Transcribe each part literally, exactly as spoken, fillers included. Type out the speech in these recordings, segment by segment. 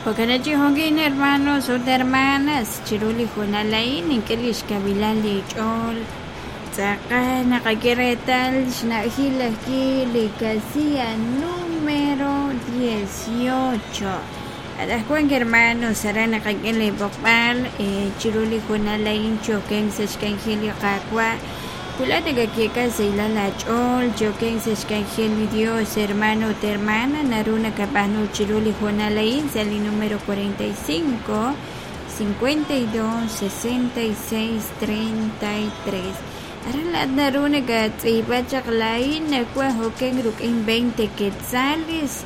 Jo'kan chi jo'kin hermanos ut hermanas chiru li hoonal a'in nink'e lix kavilal li ch'ool tz'aqal naqak'e reetal xna'jil ajwi' li casilla número dieciocho. Anaqwan hermanos aran naqak'e li b'oqb'al chiru li hoonal a'in choken sa' xk'anjel li Qaawa' wulaj nakak'e sahilal aach'ool choken sa' xk'anjel li Dios hermano ut hermana naru nakab'aanu chiru li hoonal a'in sa' li número cuarenta y cinco, cincuenta y dos, sesenta y seis, treinta y tres. Aran laat naru nakatz'iib'a chaq laa'in nawaj oken ruk'in veinte quetzales,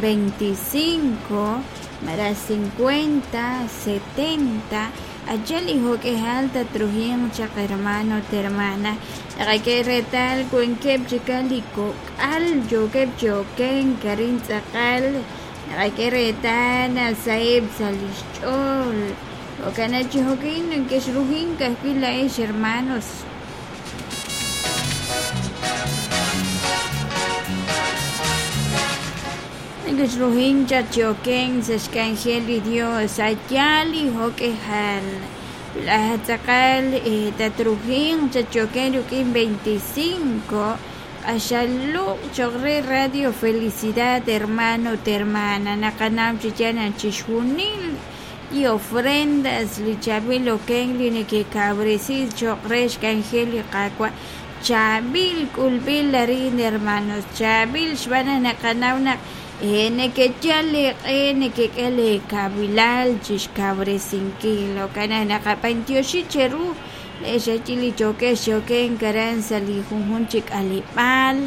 veinticinco, mara cincuenta, setenta. Allá li jok'ejal tatrujiq chaq hermano ut hermana naqak'e reetal wankeb' chika li kok'al yookeb' chi oken arin tz'aqal naqak'e reetal nasaheb' sa' lix ch'ool jo'kan chi jo'kin nakexrujink ka'ajwi' laa'ex hermanos. Nakexrujink chaq chi oken sa' xk'anjel li Dios allá li jok'ejal laj tz'aqal tatrujink chaq chi oken ruk'in veinticinco q'axaluq' choq re Radio Felicidad hermano ut hermana naqanaw chi yaal chixjunil li ofrendas li chaab'il oken li nekekabresi choq re xk'anjel li Qaawa' chaab'il k'ulb'il arin hermanos chaab'il xb'aan naqanaw naq nekeyal leeq'e nekek'e leekabilal chixkabresinkil jo'kan naqab'antioxi cheru le'xachil li chokex choken aran sa' li junjun chi k'aleb'aal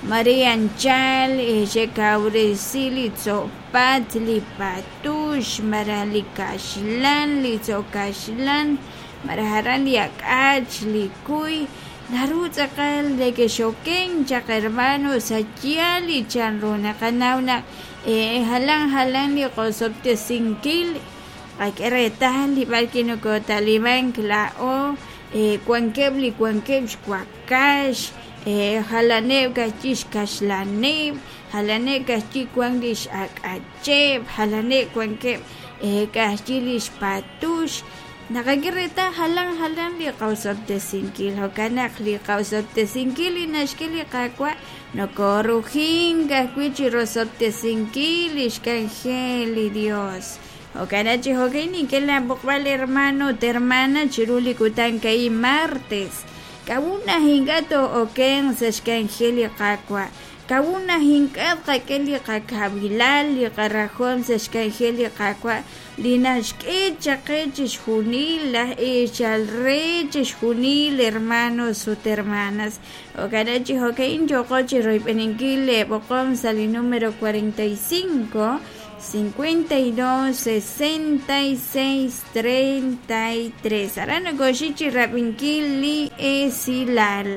Maria Anchal xekabresi li tzo'pat li patux mara li kaxlan li tzo'kaxlan mara aran li ak'ach li kuy naru tz'aqal nekexoken chaq hermanos allá li chanru naqanaw naq jalan jalan li qosob'tesinkil qak'e reetal li b'arki nokotalimank la'o wankeb' li wankeb' xwakax jalaneb' kajchi xkaxlaneb' jalaneb' kajchi wan li x'ak'acheb' jalaneb' wankeb' kajchi li xpatux naqak'e reetal jalan jalan li qawsob'tesinkil jo'kan naq li qawsob'tesinkil li naxk'e li Qaawa' nokorujink ajwi' chi rosob'tesinkil li xk'anjel li Dios jo'kan chi jo'kan nink'e laab'oqb'al hermano ut hermana chiru li kutan ka'in martes kawuna ink'a' to'oken sa' xk'anjel li Qaawa' kawuna ink'a' qak'e li qakabilal li qarajom sa' xk'anjel li Qaawa' li naxk'e chaqe chixjunil laj eechal re chixjunil hermanos ut hermanas jo'kan chi jo'kan yo'qo chi royb'eninkil leeb'oqom sa' li número cuarenta y cinco, cincuenta y dos, sesenta y seis, treinta y tres. Aran nokoxi chi rab'inkil li esilal.